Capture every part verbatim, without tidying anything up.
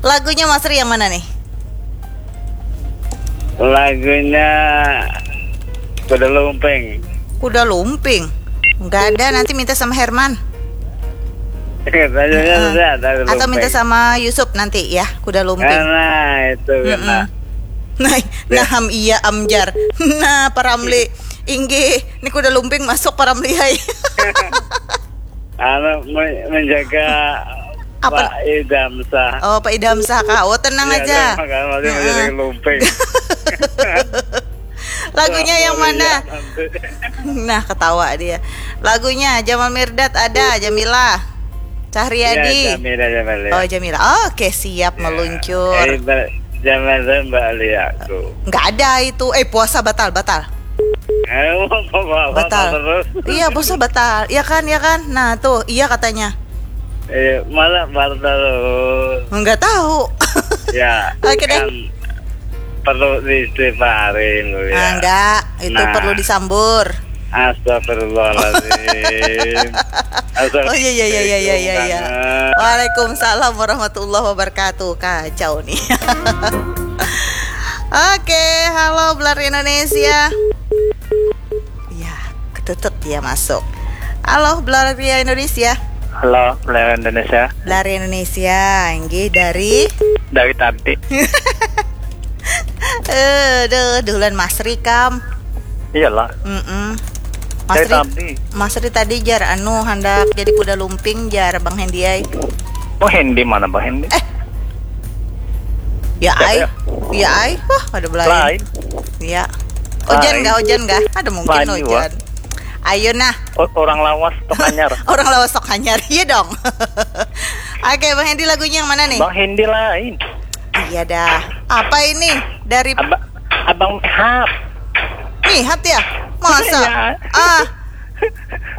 Lagunya Mas Ri yang mana nih? Lagunya Kuda Lumping. Kuda Lumping. Nggak ada, nanti minta sama Herman. Tanya, uh, ada, atau minta sama Yusuf nanti ya, Kuda Lumping. Nah, itu kena. Nah, nah, ham iya amjar. Nah, Pak Ramli. Inggih, ini Kuda Lumping masuk, Pak Ramli, hai. Anu, menjaga apa? Pak Idam Sah. Oh, Pak Idam Sah, Kak. Oh, tenang ya, aja. Kan, lumping. Lagunya yang mana? Nah, ketawa dia. Lagunya Jamal Mirdad ada, Jamila. Cahyadi. Ya, Jamila, Jamila. Oh, Jamila. Oke, siap ya. Meluncur. Eh, Jamal dan Mbak Alia tuh. Nggak ada itu. Eh, puasa batal, batal. Eh, batal. Iya, puasa batal. Iya kan, iya kan. Nah, tuh, iya katanya. Eh, malah batal terus. Nggak tahu. Ya. Oke deh. Kan perlu diistighfarin ya. Ah, enggak, itu nah. Perlu disambur. Astagfirullahaladzim. Oh iya iya iya iya iya iya. Waalaikumsalam warahmatullahi wabarakatuh. Kacau nih. Oke, halo Belar Indonesia. Ya, ketutup dia masuk. Halo Belar Indonesia. Halo Belar Indonesia. Belar Indonesia, inggih dari dari tadi. Eh, deh, duluan Mas Rikam. Iyalah. Mm -mm. Mas Ri, Mas Ri tadi jar anu handak jadi kuda lumping jar Bang Hendi ai. Bang Hendi mana Bang Hendi? Eh. Ya ai. Ya, ya. Ya ai. Wah, ada belain. Lain. Ya. Ojan enggak, ojan enggak? Ada mungkin lain ojan. Ayo nah. Orang lawas tok hanyar. Orang lawas tok hanyar. Iya dong. Oke, Bang Hendi lagunya yang mana nih? Bang Hendi lain. Iya dah. Apa ini? Dari Abang Mihat. Mihat ya? Masa? Ya. Ah.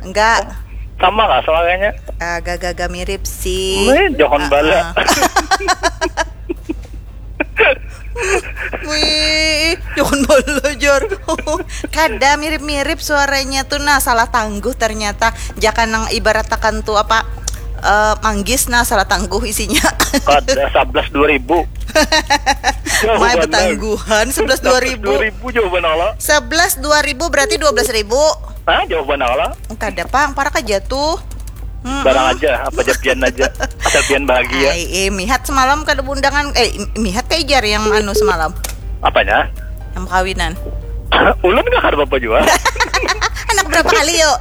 Enggak. Sama lah suaranya. Agak-agak mirip sih. Weh, jangan uh -uh. Bala. Wih, jangan belajar. Kada mirip-mirip suaranya tuh nah, salah tangguh ternyata. Jaka nang ibaratakan tuh apa uh, manggis nah, salah tangguh isinya. Kada sebelas dua ribu. Mai betangguhan sebelas dua ribu. Sebelas dua ribu jauh banget lah. Sebelas dua ribu berarti dua belas ribu. Nah, jauh banget lah. Kada pang, parak aja tuh. Mm-mm. Barang aja, apa aja pian aja. Asal pian bahagia. Ai, eh, mihat semalam kada beundangan, eh, mihat kayak jar yang anu semalam. Apanya? Yang kawinan. Ulun nggak ada apa-apa juga. Anak berapa kali yuk?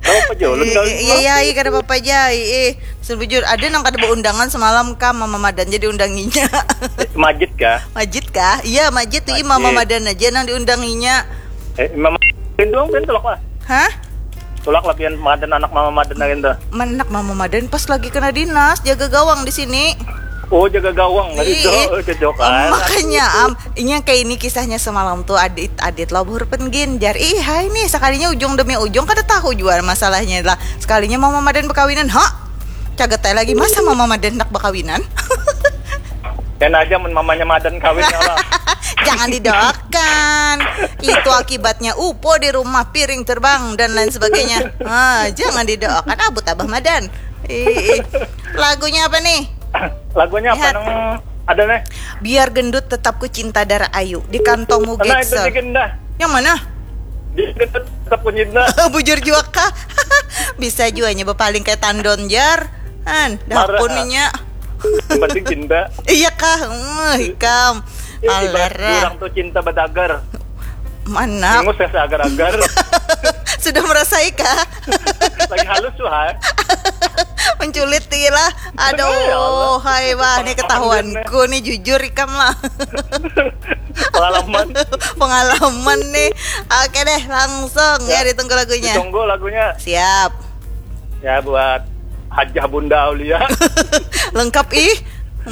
Berapa jauh ulun kawin? Iya, iya, iya, kada apa-apa aja. Eh, sebujur ada nang kada beundangan semalam kah, Mama Madan jadi undanginya. Majid kah? Majid kah? Iya, Majid tuh, Mama Madan aja nang diundanginya. Eh, Mama Madan doang kan tulak lah. Hah? Tulak lah pian madan anak Mama Madan lain tuh. Anak Mama Madan pas lagi kena dinas, jaga gawang di sini. Oh, jaga gawang tadi tuh. Cocok kan. Makanya am, ini yang kayak ini kisahnya semalam tuh adit adit lah buhur penggin jar ih hai nih sekalinya ujung demi ujung kada tahu juga masalahnya lah sekalinya Mama Madan berkawinan ha cagetai lagi masa Mama Madan nak berkawinan. Dan aja mun mamanya Madan kawin ya Allah. Jangan didoakan. Itu akibatnya upo di rumah piring terbang dan lain sebagainya. Ah, jangan didoakan abut abah Madan. Ih, lagunya apa nih? Lagunya apa nang ada nih? Biar gendut tetap ku cinta darah ayu di kantongmu Geksel. Nah, itu dah. Yang mana? Biar gendut tetap ku cinta. Bujur juga kah? Bisa juga nyoba paling kayak tandon jar. An, dah pun nya. Yang penting cinta. Iya kah? Hmm, ikam. Alara. Orang tuh cinta badagar. Mana? Ingus ya seagar-agar. Sudah merasai kah? Lagi halus tuh hai. Menculit lah. Aduh, ya hai wah ini ketahuanku nih jujur ikam lah. Pengalaman. Pengalaman nih. Oke deh, langsung ya, ya ditunggu lagunya. Ditunggu lagunya. Siap. Ya buat Hajah Bunda Aulia. Lengkap ih.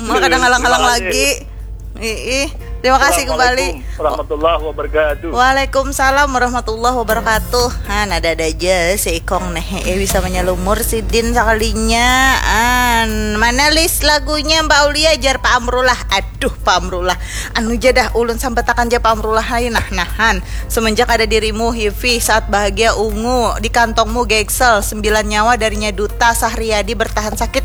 Maka ada ngalang-ngalang lagi. Ih, terima kasih kembali. Warahmatullahi wabarakatuh. Waalaikumsalam warahmatullahi wabarakatuh. Han ada ada aja si Ikong nih. Eh bisa menyelumur si Din sekalinya. An mana list lagunya Mbak Aulia jar Pak Amrullah. Aduh Pak Amrullah. Anu jadah ulun sambatakan ja Pak Amrullah hai nah nahan. Semenjak ada dirimu Hivi saat bahagia ungu di kantongmu Geksel sembilan nyawa darinya duta Sahriyadi bertahan sakit.